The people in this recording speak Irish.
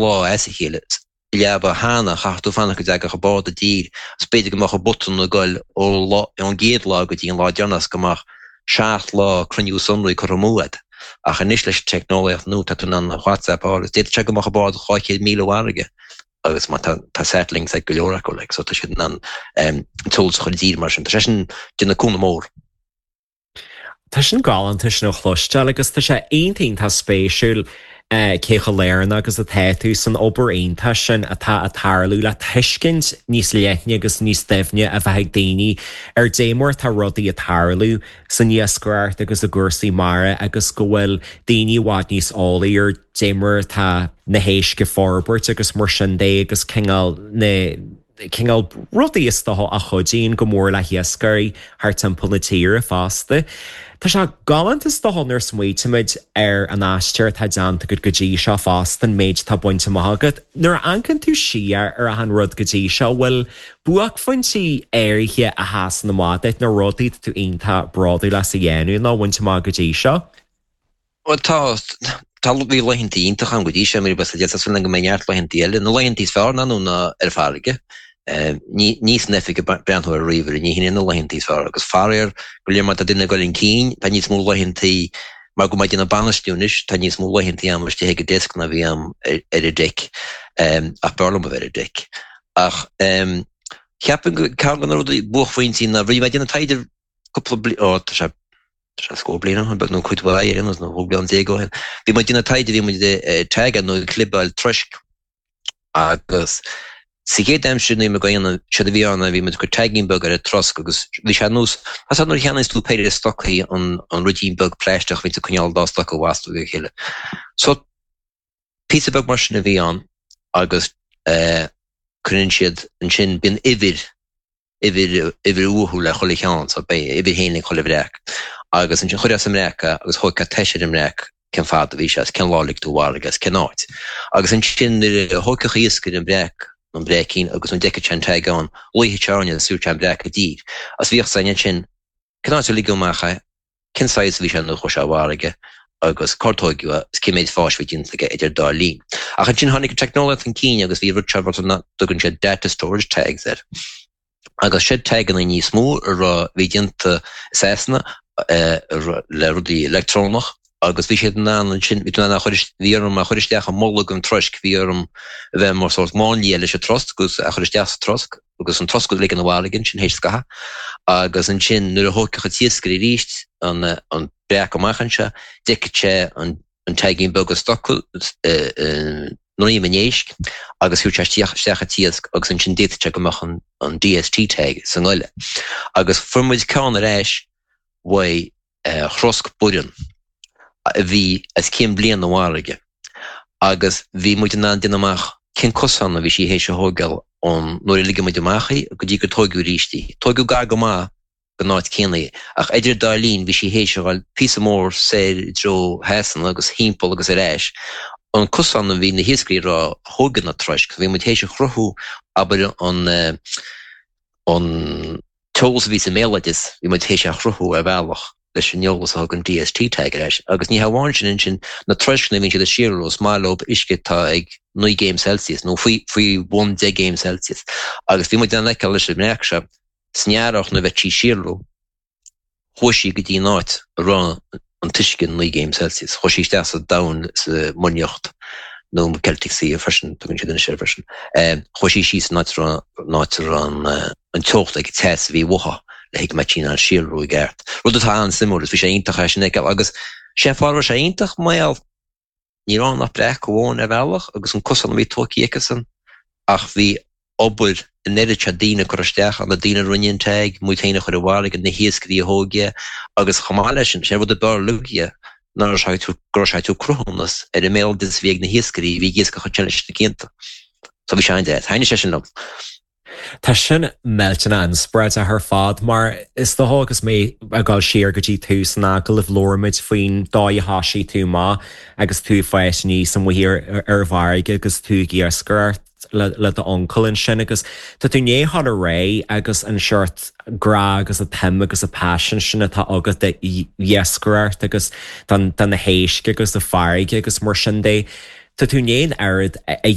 lá as a chéile. Leaba cheana, chaithfeadh tú fanacht go dtagadh an bád i dtír agus b'fhéidir go mbeadh an botún ag goil ón gcéad lá go dtí an lá deireanach go mbeadh 7 lá cruinniú sonraí curtha amú agat. Ach anois leis an teicneolaíocht nua tá tú in ann WhatsApp a fháil agus d'fhéadfadh sé go mbeadh an bád 200 míle ó fharraige agus má tá tá satellinks ag go leor acu like so tá siad in ann an t-eolas a chur i dtír mar sin. Tá sé sin déanamh cúnamh mór. Tá sin galánta sin a chloisteáil agus tá sé iontach iontach spéisiúil cé chomh lárnach agus atá tú san obair iontach sin atá ag tarlú le tuiscint níos leithne agus níos doimhne a bheith ag daoine ar dé mar atá rudaí ag tarlú san iascaireacht agus i gcúrsaí mara agus go bhfuil daoine i bhfad níos eolaí ar dé mar atá na héisc ag forbairt agus mar sin de agus cineál na cineál rudaí is dócha a chuidíonn go mór le hiascairí thart timpeall na tíre fosta. Tá sé galánta is dócha nuair a smaoitímid ar an aistear atá déanta agat go dtí seo fosta, an méid atá bainte amach agat. Nuair a amharcann tú siar ar achan rud go dtí seo, bhfuil buaicphointí áirithe a sheasann amach duit, nó rudaí atá tú iontach bródúil as a dhéanamh nó a bhaint amach go dtí seo? Bhuel tá, tá, bhí laethanta iontacha ann go dtí seo, mar tá súil agam go mbeidh neart laethanta eile. Na laethanta is fearr ná nó ná ar farraige. Ní, ní san oifig ag breathnú ar ríomhaire, ní hin na laethanta is fearr. Agus faraor, go léir má tá duine ag dul chun cinn, tá níos mó laethanta, mar go bhfuil mé ag déanamh bainistiú anois, tá níos mó laethanta agam istigh ag an desk ná bhí agam ar an deic. Ach b'fhearr liom a bheith ar an deic. Ach cheapfainn go, ceann de na rudaí, buaicphointí ná, bhí mé ag déanamh taighde cúpla bliain, ó tá sé, tá sé scór bliain ó shin, nó cuid mhaith ar aon nós, nó 12 bliain ó shin. Bhí muid ag déanamh taighde, bhí muid ag tagáil nó ag clibeáil troisc agus sa chéad aimsir nuair a bhí muid á dhéanamh, séard a bhí ann ná bhí muid ag cur taigín beag ar an trosc agus bhí sé ar nós, tá 's agat nuair a cheannaíos tú péire stocaí an an ruidín beag plaisteach a bhíonns ag coinneáil an dá stoca a bhastú le chéile. So píosa beag mar sin a bhí ann agus eh cuireann siad ansin, bíonn uimhir uimhir, uimhir uathu le chuile cheann, so beidh uimhir féin ag chuile bhreac. Agus ansin chuirfeá sa mbreac é agus thóigfeá tomhas ar an mbreac cén fad a bhí sé, is cén lá a lig tú i bhfarraige agus cén áit. Agus ansin nuair a thóigfeadh iascaire an breac, nó an breaicín, agus nuair a d'fheicfeadh sé an tag ann, ghlaofadh sé orainne agus thabharfadh sé an breac i dtír. Agus bhíodh 's againn ansin cén áit a ligeadh amach é, cén saghas a bhí sé nuair a chuaigh sé i bhfarraige agus cár tóigeadh é is cé méid fáis a bhí déanta aige idir dá linn. Ach ansin tháinig an teicneolaíocht chun cinn agus bhí rud seo rud a dtugann siad data storage tags air. Agus siad taganna níos mó a raibh bhí déanta i Sasana le rudaí leictreonach agus bhí siad in ann ansin, bhí tú in ann a chur, bhí orm a chur isteach i mbolg an troisc, bhí orm a bheith mar sórt máinlia leis an trosc agus a chur isteach sa trosc agus an trosc a ligean i bhfarraige ansin théis scaitheamh agus ansin nuair a thóigfeadh an t-iascaire arís an an breac amach anseo, d'fheicfeadh sé an an taigín beag ag stocadh i ndroim an éisc agus thabharfadh sé isteach isteach an t-iasc agus ansin d'fhéadfadh sé go mbeadh an an DST tag sa ngoile. Agus fuair muid ceann ar ais uaidh throsc Boireann a bhí as cinn bliana i bhfarraige agus bhí muid in ann déanamh amach cén cosán a bhí sí théis a thógáil ón nuair a ligeadh muid amach í go dtí gur tóigeadh arís í. Tóigeadh gar go maith don áit céanna í ach idir an dá linn bhí sí théis a ghabháil píosa mór soir i dtreo Shasana agus thimpeall agus ar ais an cosán a bhí na hiascairí ag rá a thóg na troisc. Bhí muid théis a chruthú abair an an t-eolas a bhí sa mbéaloideas, bhí muid théis é a chruthú ar bhealach leis an eolas a thug an DST tag ar ais. Agus ní hamháin sin, ansin, na troisceanna a bhíonn siad ag síolrú, is maith leo uisce atá ag 9 gcéim Celsius, nó faoi, faoi bhun 10 gcéim Celsius. Agus bhí muid in ann fheiceáil leis an mbreac seo, san earrach nuair a bheadh sí ag síolrú, Chuaigh sí go dtí an áit a raibh an t-uisce 9 gcéim Celsius. Chuaigh sí isteach sa domhan sa Muir nIocht, nó Celtic Sea freisin, tugann siad anois air freisin. Chuaigh sí síos an áit a raibh an áit a raibh an teocht ag an teas a bhí uathu le go mbeadh sí in ann síolrú i gceart. Rud atá an-suimiúil agus bhí sé iontach é sin a fheiceáil agus sé an fáth a raibh sé iontach mar gheall Ní raibh ann ach breac amháin ar bhealach agus an cosán a bhí tógtha acusan ach bhí obair an oiread seo daoine curtha isteach ann, na daoine a rinne an tag, muid féin a chuir i bhfarraige, na hiascairí a thóg é agus chomh maith leis sin, sé an rud ab fhearr uilig é ná go raibh sé ag tabhairt cruthúnas ar an mbéaloideas a bhí ag na hiascairí a bhí ag iascach ansin leis na cianta. So bhí sé an-deas. Thaitnigh sé sin liom. Tá sin millteanach inspioráideach ar fad mar is dócha agus mé ag dul siar go dtí tús an agallaimh labhair muid faoin dóigh a thoisigh tú amach agus tú ag fás aníos amuigh ar an bhfarraige agus tú ag iascaireacht le d'uncail ansin agus tá tú i ndiaidh dhul ar aghaidh agus an seort grá agus an tsuim agus an paisean sin atá agat d'iascaireacht agus do na héisc agus an farraige agus mar sin de. Tá tú i ndiaidh an oiread a.